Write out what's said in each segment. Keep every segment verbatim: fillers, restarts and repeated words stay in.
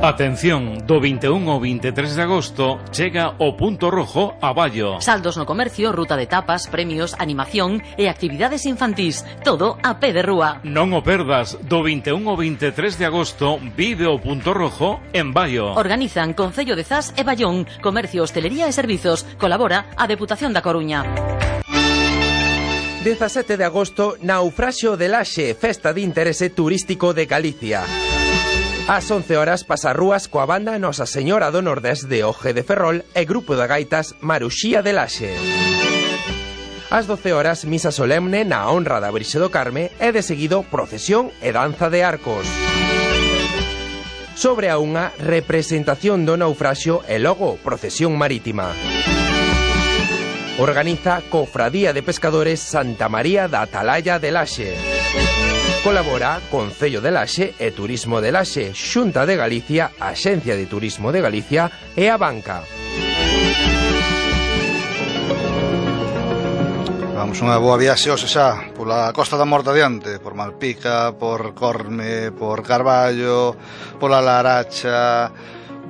Atención, do vinte e un ao vinte e tres de agosto chega o Punto Rojo a Ballo. Saldos no comercio, ruta de tapas, premios, animación e actividades infantís. Todo a pé de rúa. Non o perdas, do vinte e un ao vinte e tres de agosto vive o Punto Rojo en Ballo. Organizan Concello de Zas e Ballón, Comercio, Hostelería e Servizos. Colabora a Deputación da Coruña. dezasete de agosto, Naufraxio de Laxe, festa de interese turístico de Galicia. Ás once horas pasarrúas coa banda Nosa Señora do Nordés de Oje de Ferrol e grupo de gaitas Maruxía de Laxe. Ás doce horas, misa solemne na honra da Virxe do Carme e de seguido procesión e danza de arcos. Sobre a unha, representación do naufraxio e logo procesión marítima. Organiza Cofradía de Pescadores Santa María da Atalaya de Laxe. Colabora Concello de Laxe e Turismo de Laxe, Xunta de Galicia, Axencia de Turismo de Galicia e a Banca. Vamos unha boa viaxe hoxe xa pola Costa da Morte adiante, por Malpica, por Corme, por Carballo, pola Laracha,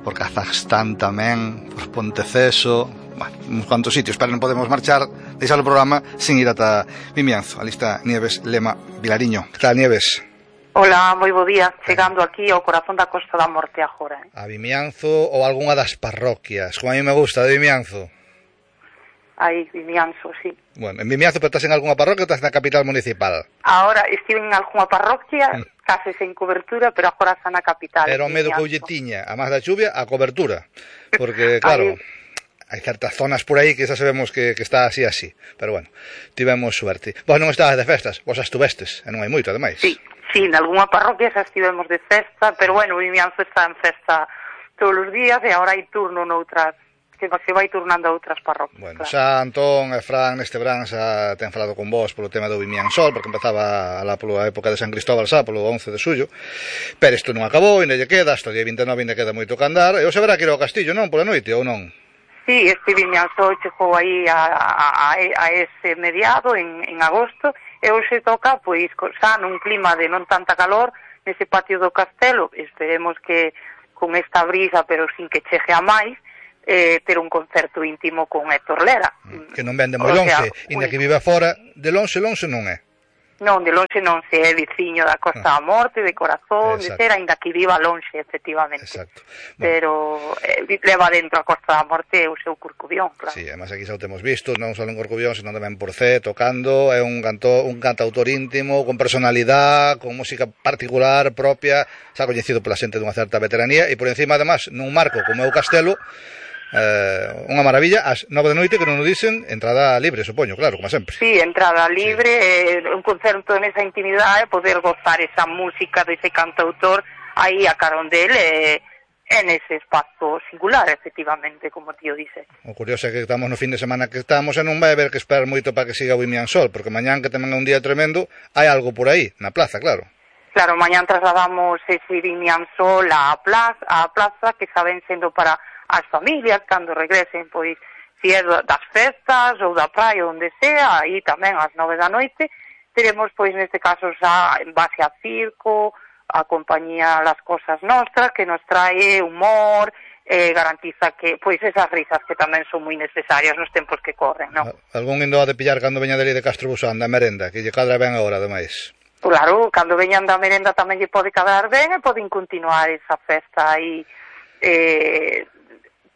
por Kazajstán tamén, por Ponteceso. Bueno, uns cuantos sitios, pero non podemos marchar, deixar o programa sin ir ata Vimianzo. Ali está Nieves Lema Vilariño. Que tal, Nieves? Hola, moi bo día. Chegando aquí ao corazón da Costa da Morte agora. Eh? A Vimianzo ou algunha das parroquias, como a mí me gusta, de Vimianzo. Aí, Vimianzo, sí. Bueno, en Vimianzo, pero estás en algunha parroquia ou estás na capital municipal? Ahora estive en algunha parroquia, mm. case sen cobertura, pero agora está na capital. Era o medo que lle tiña, a máis da chuvia, a cobertura. Porque, claro... hai certas zonas por aí que xa sabemos que, que está así así, pero bueno, tivemos suerte. Vos non estabas de festas, vos estuvestes, e non hai moito, ademais. Sí, sí, en algunha parroquia xa estivemos de festa, pero bueno, o Vimianzo está en festa todos os días e agora hai turno noutras, que se vai turnando a outras parroquias. Bueno, claro. xa Antón e Fran neste verán xa ten falado con vos polo tema do Vimiansol, porque empezaba lá pola época de San Cristóbal xa, polo once de xullo, pero isto non acabou, ainda lle queda, hasta o día vinte e nove ainda queda moito que andar, e hoxe verá que ir ao Castillo, non, pola noite, ou non? Sí, este Vimianzo chegou aí a, a, a ese mediado en, en agosto e hoxe toca, pois, xa nun clima de non tanta calor nese patio do castelo. Esperemos que con esta brisa, pero sin que chegue a máis, eh, ter un concerto íntimo con Héctor Lera. Que non vende moi lonxe, inda que vive fora, de lonxe, lonxe non é. Non, de lonxe non se é viciño da Costa da Morte, de corazón, de ser, ainda que viva lonxe, efectivamente. Exacto. Bueno. Pero eh, leva dentro a Costa da Morte o seu Corcubión, claro. Sí, además aquí xa o temos visto, non só en Corcubión, senón tamén por Cee, tocando, é un, canto, un cantautor íntimo, con personalidade, con música particular, propia, xa coñecido pola xente dunha certa veteranía, e por encima, además, nun marco como é o Castelo, Eh, unha maravilla, ás nove de noite que non o dicen, entrada libre, supoño, claro, como sempre. Sí, entrada libre, sí. eh, un concerto nesa intimidade, poder gozar esa música dese cantautor aí a carón del eh, en ese espazo singular, efectivamente, como tío dice. O curioso é que estamos no fin de semana que estamos e non vai haber que esperar moito para que siga o Vimiansol, porque mañán que tamén é un día tremendo, hai algo por aí, na plaza, claro. Claro, mañán trasladamos ese Vimiansol á plaza, á plaza que saben sendo para as familias, cando regresen, pois, si é das festas ou da praia, onde sea, aí tamén ás nove da noite, teremos, pois, neste caso, xa en base a circo, a compañía Las Cosas Nostras, que nos trae humor, eh, garantiza que, pois, esas risas que tamén son moi necesarias nos tempos que corren, non? Algún indo a de pillar cando veña deli de Castro Busán, da merenda, que lle cadra ben agora, ademais. Claro, cando veñan da merenda tamén lle pode cadrar ben e poden continuar esa festa aí, eh,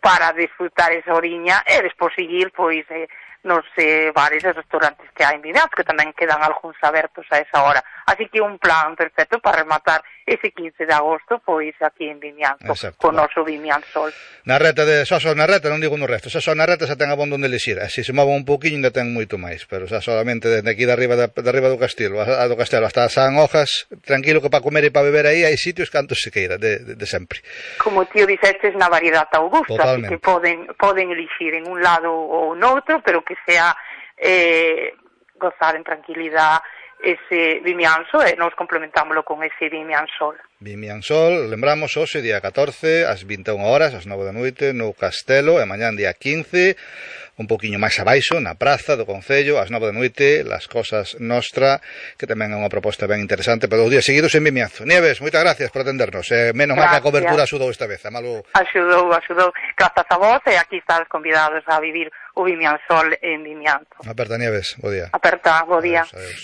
para disfrutar esa oriña e despois seguir, pois, eh, nos eh, bares e restaurantes que hai en Vimianzo, que tamén quedan algúns abertos a esa hora. Así que un plan perfecto para rematar ese quince de agosto, pois, aquí en Vimianzo, con o noso Vimiansol. Na reta de só só na reta, non digo no resto, só só na reta xa ten abondo onde lexir. Así se move un pouquiño ainda ten moito máis, pero xa solamente desde aquí de arriba, de, de arriba do castelo, a, do castelo hasta San Hojas, tranquilo que para comer e para beber aí hai sitios cantos se queira, de, de, de sempre. Como tío dixestes, na variedade augusta, así que poden, poden elixir en un lado ou noutro, pero que sea eh, gozar en tranquilidade, ese vimianzo e nos complementámoslo con ese vimiansol. Vimiansol, lembramos hoxe día catorce, ás vinte e unha horas, ás nove da noite, no Castelo, e mañán día quince, un poquinho máis abaixo, na praza do Concello, ás nove da noite, Las Cosas Nostra, que tamén é unha proposta ben interesante para os días seguidos en Vimianzo. Nieves, moitas gracias por atendernos, e menos mal que a cobertura axudou esta vez, a malo... Axudou, axudou, grazas a vos, e aquí estás convidados a vivir o Vimiansol en Vimianzo. Aperta, Nieves, bo día. Aperta, bo día. Adiós, adiós.